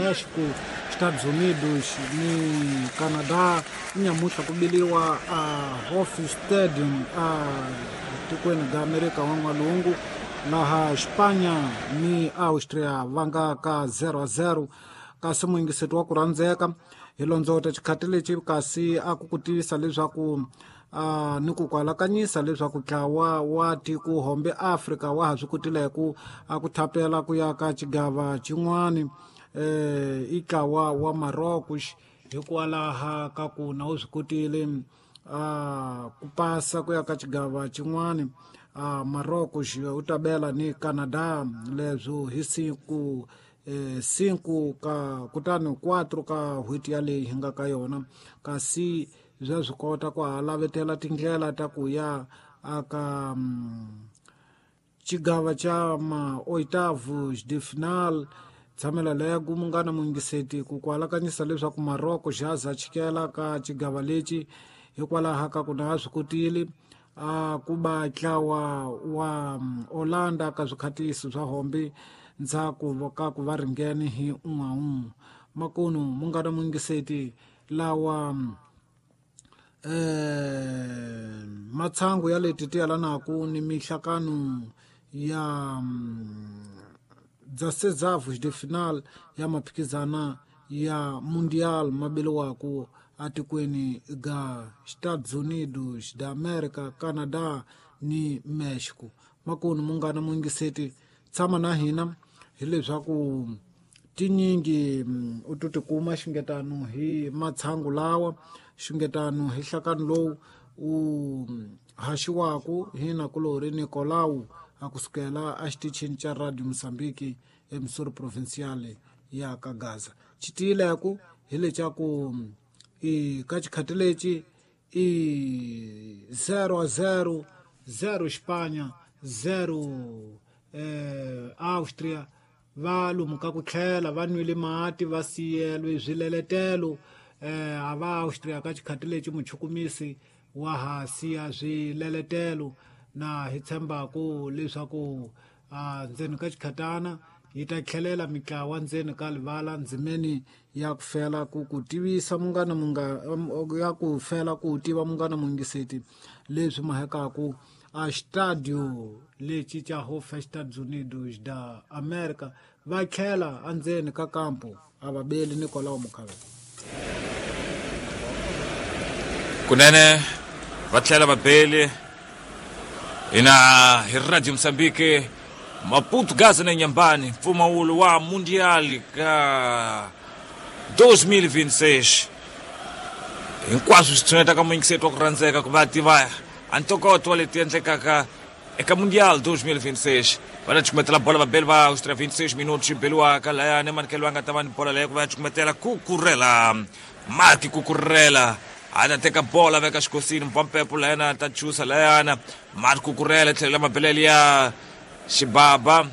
México, Estados Unidos ni Canadá. Nyamuhla ku biliwa a Hoff Stadium a tikweni ga Amerika wa N'walungu, laha Espanha ni Austria va nga ka 0-0. Kasi muyingiseti wa ku rhandzeka, hi londzota xikhati lexi kasi a ku ku tivisa leswaku ni ku kwalakanyisa leswaku ntlawa wa tiko hombe Afrika wa ha swi kotileku a ku thapela ku ya ka xigava xin'wani, i ntlawa wa Marocos, hikwalaha ka ku na wu swi kotile ku pasa ku ya ka xigava xin'wani. Marocos u ta bela ni Canada leswo hi siku 5 ka kutani 4 ka n'hweti yaleyi hi nga ka yona. Kasi bya swi kota ku ha lavetela tindlela ta ku ya aka xigava xa ma oitavos de final. Tshamela leku munghana muyingiseti ku kwalakanyisa leswaku Marocco xa za chikela ka xigava lexi hikwalaho ka ku na swi kotile a ku ba ntlawa wa Holanda ka swikhatisi swa hombe ndzhaku ka ku va ringene hi 1-1. Makunu munghana muyingiseti, lawa matshangu ya leti ti yalanaku ni mihlakano ya 16avos de final ya maphikizana ya Mundial mabeliwaku atikweni ga Estados Unidos da America, Canada ni Mexico. Makunu munghana muyingiseti, tshama na hina hileswaku tinyingi u to tikuma xingetano hi matshangu lawa, xingetano hi nhlakano lowu u haxiwaku hi nakulori Nicolau a kusukela a xitichini xa Radio Mozambique eMissouri Provincial ya ka Gaza. Xitiyileku hi lexa i ka xikhati lexi i 0-0, 0 Espanha, 0 Austria. Va lomu ka ku tlhela va nwile mati, va siyelwe swileletelo a va Austria ka xikhati lexi muchukumisi wa ha siya swileletelo, na hi tshembaku leswaku ndzeni ka xikhatana yi ta tlhelela mitlawa ndzeni ka livala ndzimeni ya ku fela ku ku tivisa munghana munga ya ku fela ku tiva munghana muyingiseti leswi mahekaku a stadio lexi xa Hof Estados Unidos da America. Va tlhela endzeni ka kampo a va beli Nicolau Mukhavela. Kunene va tlhela va beli hina hi Radio Mozambique Maputo, Gaza na Inhambane, mpfumawulo wa Mundial ka 2026. Hinkwaswo swi tshuneta ka muyingiseti wa ku rhandzeka ku va tiva a ntokoto wa leti endlekaka eka Mundial 2026. Va ta cukumetela bola vabeli va Austria, 26 minutos beliwaka layani. Manikelo va nga ta va ni bola leyi ku va ya cukumetela Kukurela, Mark Kukurela a ta teka bola veka xikosini mpampepo layana ta chusa layana. Mark Kukurela tlhelo la mabelele ya xibaba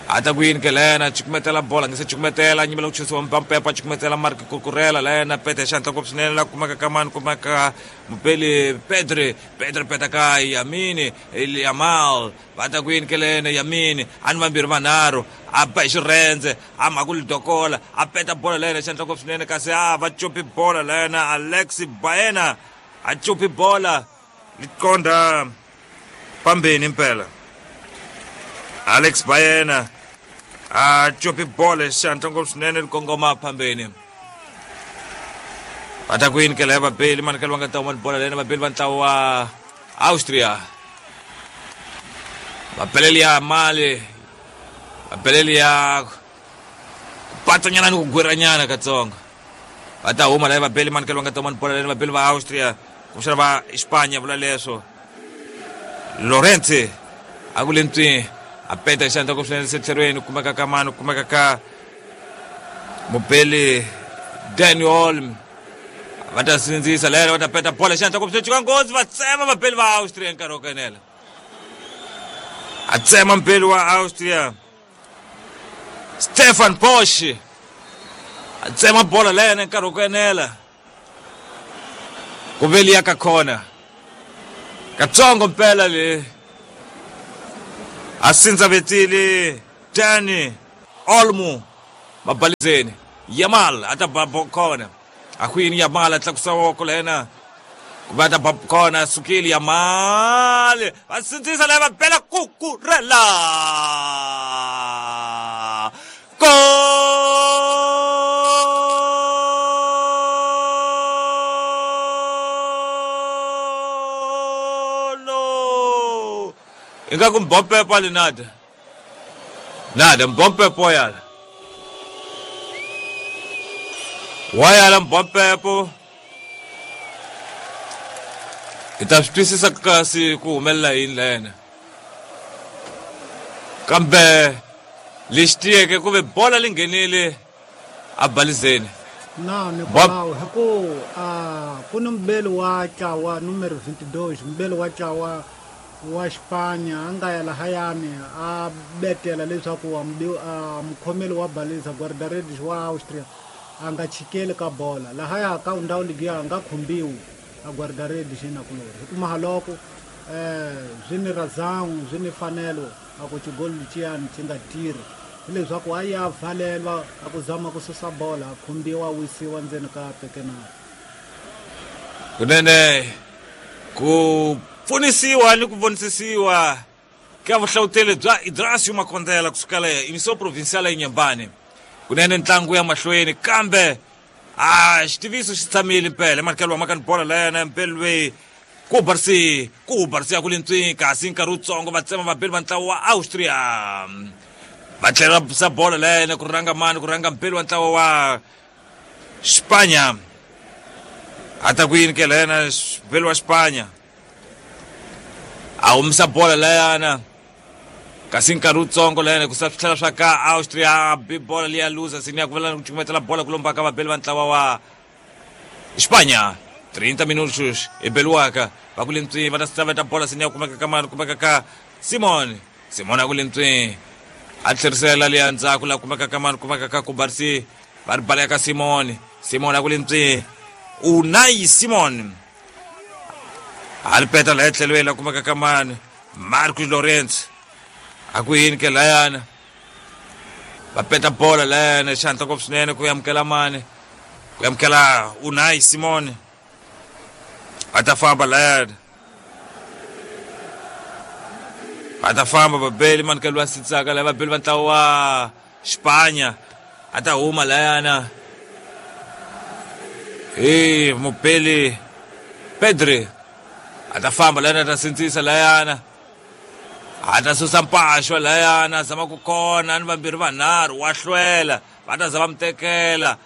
a ta ku yini ke layana, cukumetela bola nge se cukumetela, nyimela ku chusiwa mpampepo, a cukumetela Mark Kukurela layana, pete xantla ngopfu swinene la kumeka ka mani, kumeka mupeli Pedri. Pedri peta ka Yamini Yamal. Va ta ku yini ke lena, Yamini a ni vambirhi vanharhu, a ba hi xirhendze, a mhaku lidokola, a peta bola layena xantla ngopfu swinene, kasi a va copi bola layena. Alex Baena a copi bola liqonda pambeni impela. Alex Baena a copi bola xantla ngopfu swinene li kongoma phambeni. Va ta ku yini ke laya vabeli manikelo va nga ta huma ni bola lena vabeli va ntlawa wa Austria, vabeleli ya mali, vabeleli ya ku patsanyana ni ku gwiranyana katsongo. Va ta huma laya vabeli manikelo va nga ta huma ni bola lena vabeli va Austria, kumbexana va Espanya vula leswo. Lorente a ku le ntswi, a peta xandla ku swinene setlherweni, kumeka ka mani, kumeka ka mubeli Daniel Olm. Va ta sindzisa lero, va ta peta bola xandla ku swinene, nghozi, va tsema vabeli va Austria nkarhi wo kenela. A tsema mubeli wa Austria Stefan Posch, a tsema bola lena nkarhi wo kenela ku veliya ka khona katsongo mpela le a sindzavetile Dani Olmo. Mabalizeni Yamal a ta ba kona akwini Yamal a tlakusa voko lena ku va ta ba kona sukile Yamal va sindzisa lava bela Cucurella Golo ingaku Mbompepo ali nada nada Mbompepo yala wayala Mbompepo hi ta swi twisisa kasi ku humelela yini lena kambe lexi tiyeke ku ve bola li nghenile a balizeni na Nicolau hi ku ku ni mubeli wa ntlawa numero 22 mubeli wa ntlawa wa Xipanya a nga ya lahayani a betela leswaku mukhomeli wa baliza guarda-redes wa Austria a nga chikeli ka bola lahaya ka ndhawu liya a nga khumbiwi a guarda-redes inakulori hi ku mahaloko swi ni razão swi ni fanelo a ku xigolo lexiyani xi nga tirhi hileswaku a ya valelwa a ku zama ku susa bola a khumbiwa a wisiwa ndzeni ka pekenari. Kunene ku pfunisiwa ni ku vonisisiwa ka vuhlawuteli bya Idrasio Makondela kusukela Emissão Provincial ya Inhambane. Kunene ntlangu ya mahlweni kambe a xitiviso xi tshamile mpela emanikelo wa makani bola lena mpelwe ku barsi ya ku lintswi kasi nkarhi wutsongo va tsema vabeli va ntlawa wa Austria va tlhela sa bola lena ku ranga mani ku ranga mpeli wa ntlawa wa Xipanya a ta ku yini ke lena mpeli wa Xipanya a humisa bola leyana kasi nkarhi wutsongo lena ku sa swi tlhela swa ka Austria bi bola liya luza sini ya ku vela ku cukumetela bola ku lomba ka vabeli va ntlawa wa Xipanya 30 minutos e beliwaka va ku lentswi va ta saveta bola sini ya kumeka ka mani kumeka ka Simon Simon a ku lentswi a tlherisela liya ndzhaku la kumeka ka mani kumeka ka Kubarsi va ri baleka ka Simon Simon a ku lentswi Unai Simon a ri peta laha etlhelweni la kumeka ka mani Marcos Lorenzo a ku yini ke layana va peta bola layana xihantla ngopfu swinene ku amukela mani ku amukela Unai Simon va ta famba layana va ta famba vabeli manikelo wa sitsaka laya vabeli va ntlawa wa Xipanya a ta huma layana hi mubeli Pedri a ta famba layana a ta sindzisa layana a ta susa mpaxwa layana zama ku kona ni vambirhi vanharhu wa hlwela va ta za va mu tekela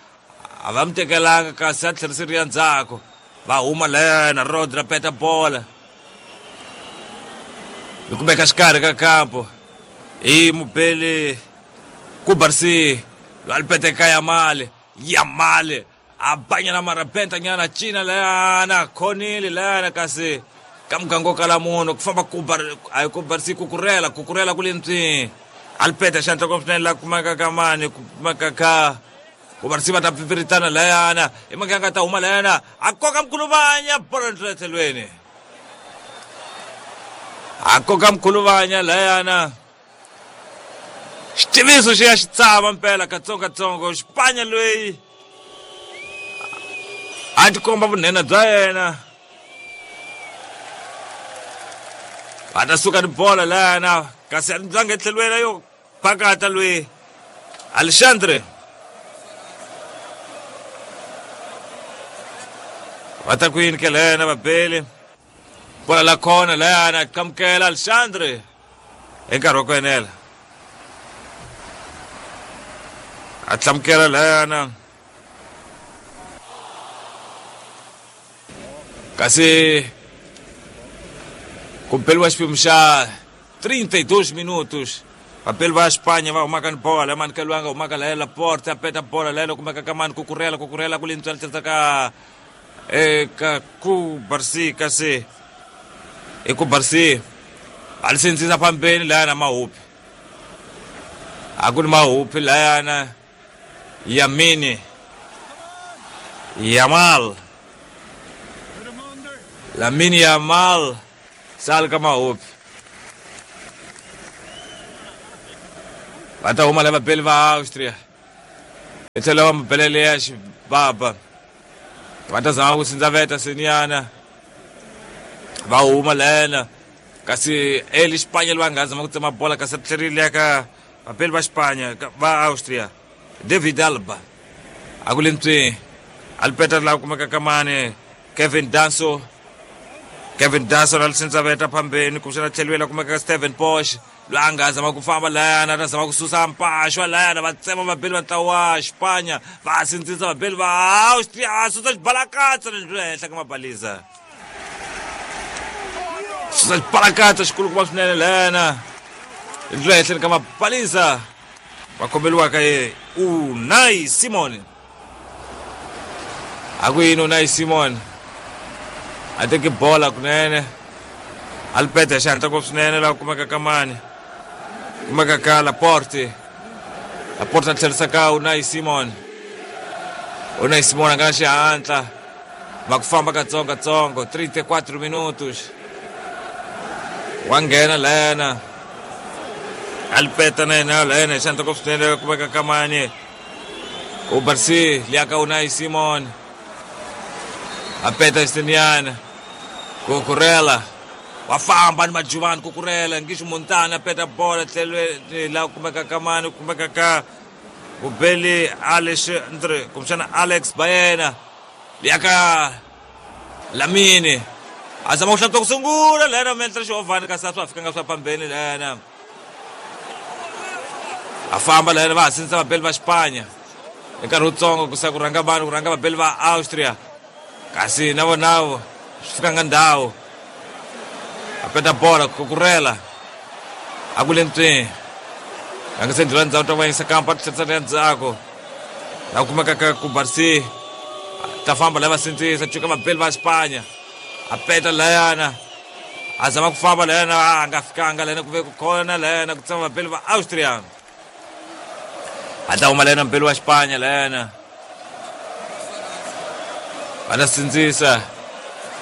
a va mu tekelanga kasi a tlheriseriwa ndzhaku va huma layana Rodri a peta bola hi kumeka xikarhi ka kampo hi mubeli Kubarsi loyi a li peteka Yamal Yamal a banyana marabenta nyana cina layana khonile layana kasi ka muganga wo kala munhu ku famba a hi Kubarsi Cucurella Cucurella ku lentswi a li peta xandla ngopfu swinene la kumeka ka mani kumeka ka Kubarsi va ta pfipfiritana layana hi muganga ta huma layana a koka mkhuluvanya bola ndlela tlhelweni a koka mkhuluvanya layana xitiviso xi ya xi tsava mpela katsongokatsongo Xipanya loyi a tikomba vunhenha bya yena va ta suka ni bola layana kasi a ndlange etlhelweni yo pakata loyi Alexandre va ta ku yini ke lena vabeli bola la khona layana qamukela Alexandre hi nkarhi wa ku enela a hlamukela layana kasi ku beliwa xiphemu xa 32 minutos vabeli va Xipanya va humaka ni bola mani ka loyi a nga humaka laya Laporte a peta bola laya loko kumeka ka mani Cucurella Cucurella ku lentswela tlherisa ka eka Kubarsi kasi i Kubarsi a li sindzisa fambeni layana mahupi a ku ni mahupi layana Yamini Yamal Lamine Yamal sali ka mahupi va ta huma lava beli va Austria Hi tlhelo wa mabelele ya xibaba va ta zama ku sindzaveta seniyana va huma lena kasi eli Xipanya loyi a nga zama ku tsema bola kasi ri tlherile ya ka vapeli va Xipanya va Austria. David Alba a ku le ntswini alipeta laha kumeka ka mani Kevin Danso. Kevin Danso na lisindzaveta phambeni kumbexana tlheliwela kumeka ka Steven Posh loyi a nga zama ku famba layana a ta zama ku susa mpaxwa layana va tsema vabeli va ntlawa wa Xipanya va sindzisa vabeli va Austria va susa xibalakatsa le henhla ka mabaliza, susa xibalakatsa xikulukumba swinene layana le henhleni ka mabaliza va kombeliwaka ye Unai Simon. A ku yini Unai Simon a teki bola kunene a li peta hi xihatla ngopfu swinene laha kumeka ka mani kumeka ka Laporte. Laporte a tlherisa ka Unai Simon. Unai Simon a nga na xihatla va ku famba katsongo katsongo 34 minutos wa nghena lena a li peta na yena lena hi xihatla ngopfu swinene kumeka ka mani Ubarsi liaka Unai Simon a peta xiniyana Kukurela wa famba ni majuvani Kukurela ngisho Montana a peta bola tlhelweni laha kumeka ka mani kumeka ka Bubeli Alexandre kumbexana Alex Bayena liaka Lamini a zama ku hlantswa ku sungula lena mentle xihovhani kasi a swa ha fikanga swa phambeni lena a famba lena va ha sindzisa vabeli va Xipanya hi nkarhi wutsongo ku sa ku rhanga vanhu ku rhanga vabeli va Austria kasi na vonavo swi fikanga ndhawu a peta bola Kukurela a ku le ntswini rhangisa ndlela ndzhaku ta vayisa kampa tlherisela ya ndzhaku la kumeka ka Kubarsi ta famba la va sindzisa cuka vabeli va Xipanya a peta layana a zama ku famba layana a nga fikanga layana ku ve ku khona layana ku tsema vabeli va Austria a ta huma layana mbeli wa Xipanya layana va ta sindzisa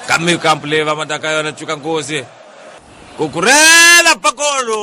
ka mikampu leyi va mataka ka yona cuka nkosi Kukurela pakolo.